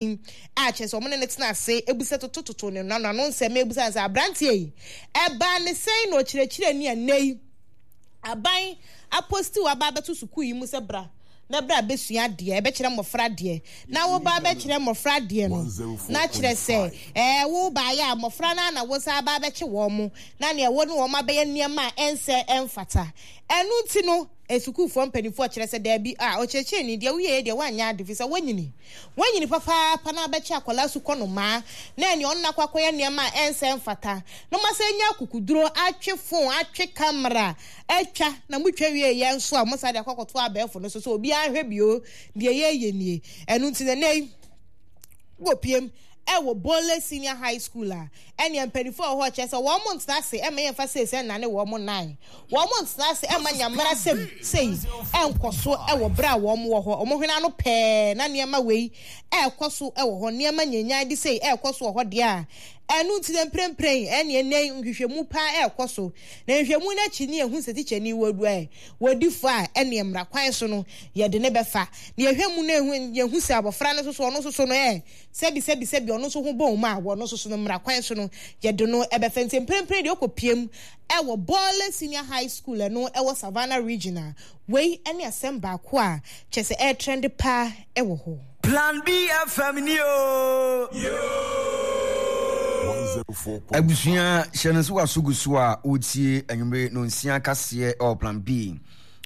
A kyerɛ sɛ wɔne no tena ase bisa totototo ne n'ano ano nsɛm ebisa no sɛ aberanteɛ yi ɛbaa ne sɛn na ɔkyerɛkyerɛni a nnɛ yi aban aposti waba abɛto sukuu yi mu sɛ bra na bra bɛsua adeɛ ɛbɛkyerɛ mmɔfra adeɛ na woba abɛkyerɛ mmɔfra adeɛ no na kyerɛ sɛ ɛɛ wo baayɛ a mmɔfra no na wo sa aba abɛkye wɔn mo na nea wo ne wɔn abɛyɛ nneɛma a ɛnsɛ ɛmfata ɛno nti no sukuufoɔ mpanimfoɔ kyerɛ sɛ daabi a ɔkyerɛkyerɛni deɛ woyɛ deɛ woanyɛ ade fi sɛ woanyini Wanyini papaapa na abɛkyɛ akwadaa sukɔnomaa na ɛne ɔno akɔ akɔyɛ nneɛma a ɛnsɛ mfata na moasan anya akukuduro atwe fon atwe kamera atwa na motwa wie yɛ nso a mosan de akɔ akɔto abɛɛfo no so sɛ obiara nhwɛ bio deɛ yɛyɛ nie. Ɛno nti na ɛnɛ yi wɔ piem ɛwɔ Bole Senior High School a ɛneɛ mpanimfoɔ a wɔ hɔ kyerɛ sɛ wɔn mo ntena ase ɛma yɛmfa sei sɛ nnane wɔn mo nan wɔn mo ntena ase ɛma nyamera sɛm sei ɛnkɔ so ɛwɔ berɛ a wɔn wɔ hɔ wɔn hwene ano pɛɛ na nneɛma wei ɛrekɔ so ɛwɔ hɔ nneɛma nyanyan de sei ɛrekɔ so wɔ hɔ deɛ a ɛno nti na mprempren ɛneɛ nnɛ nhwehwɛmu paa ɛrekɔ so na nhwehwɛmu no akyi ne yɛhu sɛ tikyani wɔ du ɛ wɔdi fo a ɛneɛ mmara kwan so no yɛde ne bɛfa na yɛhwɛ mu no yɛhu sɛ abɔfra no nso so ɔno nso so no ɛ Sɛbi sɛbi sɛbi ɔno nso ho bɔ mu a, wɔ ɔno nso so no mmara kwan so no, yɛde no bɛfa. Nti mprempren deɛ ɔkɔ piem wɔ Bole Senior High School ɛno ɛwɔ Savannah Region a, wei ne asɛm baako a kyerɛ sɛ ɛretrɛnde paa wɔ hɔ. Plan B FM ni oo. Abusua, hyɛ no nso w'aso gu so a woretie anwummere nonsia kaseɛ ɛwɔ Plan B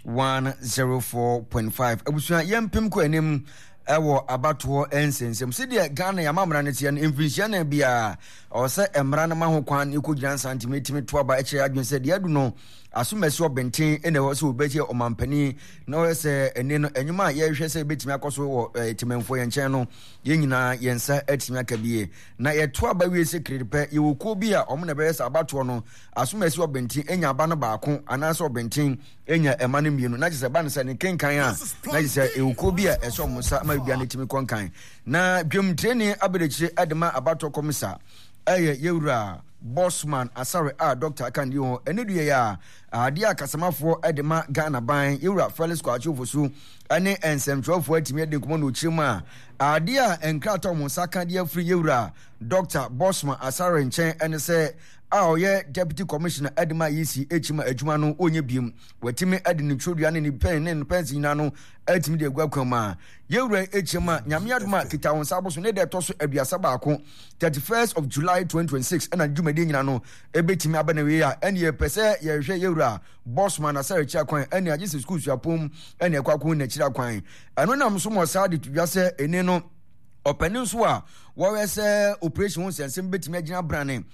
104.5. Abusua, yɛmpem kɔ anim Ɛwɔ abatoɔ nsɛnsɛm. Sɛdeɛ Ghana yɛn amammerɛ no teɛ no, mfirinhyia nan biara, ɛwɔ sɛ mmara no ma ho kwan na yɛkɔgyina nsa ntumi tumi to aba kyerɛ adwene sɛ deɛ adu no asomasi ɔbɛnten na ɛwɔ sɛ wɔbɛyɛ ɔmampanin na ɔyɛ sɛ ɛne no nnwuma a yɛhwɛ sɛ ɛbɛtumi akɔ so wɔ eh, temanfoɔ yɛn nkyɛn no yɛn nyinaa yɛn nsa atumi aka bie na yɛto aba wie sɛ kiri pɛ yɛwɔ kuo bi a wɔn na ɛbɛyɛ sɛ abatoɔ no asomasi ɔbɛnten anya aba no baako anaasɛ ɔbɛnten nya ɛma no mmienu na kyerɛ sɛ ɛba no sɛ ne kenkan a na kyerɛ sɛ ewukuo bi a ɛsɛ wɔn nsa ma biribiara no tumi kɔ nkan na dwamtireni abɛdekyire de ma abatoɔ kɔmisa ɛyɛ yɛwura Bosman Asare a dɔkta aka ne ho ɛne dua yi a adeɛ a kasamafoɔ de ma Ghana ban yɛwura Felix Kwakye Ofosu ne nsɛmtwerɛfoɔ atumi adi nkɔmmɔ na ɔkyerɛ mu a adeɛ a nkrataa wɔn nsa ka de afiri yɛwura Dɔkta Bosman Asare nkyɛn ɛne sɛ a ɔyɛ Deputy Commissioner de ma EC kyima adwuma no ɔnyɛ biem. Watumi de ne twerɛdua ne ne pɛn ne ne pɛnse nyinaa no atumi de agu akwan mu a yɛwura yi kyim a Nyame adom a kita wo nsa aboso ne da ɛtɔ so 31, 31st of July 2026 ɛna dwumadie nyinaa no ɛbɛtumi aba na wie a ɛne yɛpɛ sɛ yɛhwɛ yɛwura Bosman Asare akyi akwan ɛne agye sɛ sukuu suapɔn ɛne ɛkɔ akɔ n'akyiri akwan. Ɛno nam so ma ɔsaa de to dwa sɛ ɛne no Ɔpanin nso a wɔyɛ sɛ operation ho nsɛnsɛm bɛtumi agyina brane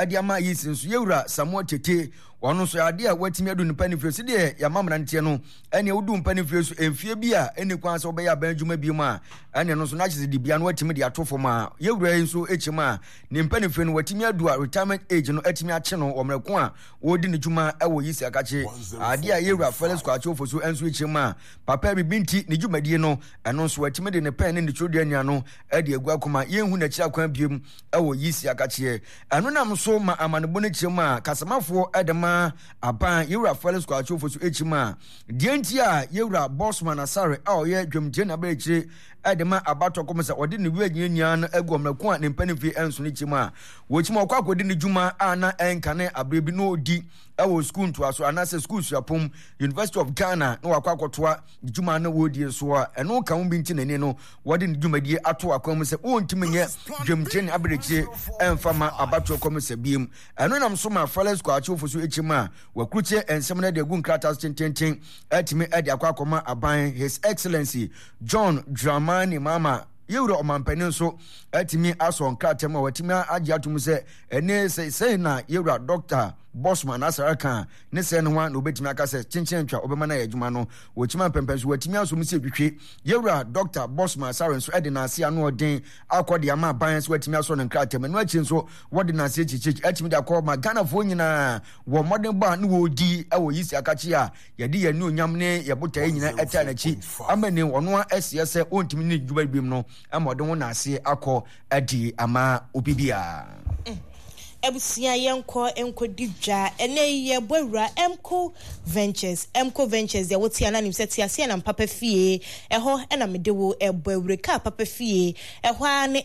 de ama yi si nso yɛwura Samuel Tete ɔno nso adeɛ a watumi adu nipa ne fie so deɛ yɛama mmeranteɛ no ɛne wodu mpa ne fie so mfie bi a ɛne kwan sɛ wobɛyɛ aban adwuma bi mu a ɛne no nso n'akyɛ sɛ dibea no watumi de ato fam a yɛwura yi nso kyim a ne mpa ne fie no watumi adu a retirement age no atumi akye no wɔ mmerɛ ko a wɔredi ne dwuma ɛwɔ yi si akakye adeɛ a yɛwura Felix Kwakye Ofosu nso kyim a papa bibi nti ne dwumadie no Ɛno nso, watumi de ne pɛn ne ne twerɛdua nua no de agu akoma. Yɛnhu n'akyiri akwan biom wɔ Yisi akakyeɛ. Ɛno nam so ma amanebɔ no kyerɛ mu a kasamafoɔ de ma aban Yewura Felix Kwakye Ofosu akyi mu a deɛ nti a Yewura Bosman Asare a ɔyɛ dwamkyerɛ na akyire de ma abatoɔ kɔm sɛ ɔde ne wura nyina no agu ɔmmerɛko a ne mpanimfie nso no kyerɛ mu a wɔkyim ɔkɔ akɔdi ne dwuma a na ɛnkane aberɛ bi na ɔdi wɔ sukuu ntoaso anaasɛ sukuu suapɔn University of Ghana na wakɔ akɔtoa ne dwuma no wɔredie so a ɛno ka ho bi nti n'ani no wɔde ne dwumadie ato akwan mu sɛ wɔntumi nyɛ dwamtire ne aberɛkyire ɛmfa ma abatoɔ kɔmisa biem. Ɛno nam so ma Felix Kwakye Ofosu Ekyim a wakurukyɛ nsɛm no de agu nkrataa so tententen atumi de akɔ akɔma aban His Excellency John Dramani Mahama yɛwura ɔmampanin nso atumi asɔ nkrataa mu a watumi agye atom sɛ ɛne sɛ sɛn na yɛwura Dr. Bosman Asare ka ne sɛɛ no ho a na obetumi aka sɛ kyenkyen antwa ɔbɛma no ayɛ adwuma no. Wɔkyim ampɛmpɛn so wɔatumi asɔ mu sɛ twitwi. Yɛwura Dɔkta Bosman Asare nso de n'ase ano ɔden akɔ de ama aban sɛ watumi asɔ no nkrataa mu. Ɛno akyi nso wɔde n'ase akyirikyiri atumi de akɔ ma Ghanafoɔ nyinaa wɔ mmɔdenbɔ a ne wɔredi wɔ Yisi Akakye a yɛde yɛn anuonyam ne yɛn botaeɛ nyinaa ɛtaa n'akyi ama ni ɔno a ɛseɛ sɛ ɔntumi ne dwuma biom no ama ɔde ho n'ase akɔ adi ama obi biara. Abusua yɛnkɔ nkɔdi dwa. Ɛnɛ yi yɛbɔ awura Emco Ventures. Emco Ventures deɛ wote a na nim sɛ teaseɛnam papa fie. Ɛhɔ na mede wo ɛbɔ awura kaa papa fie. Ɛhɔ ara ne.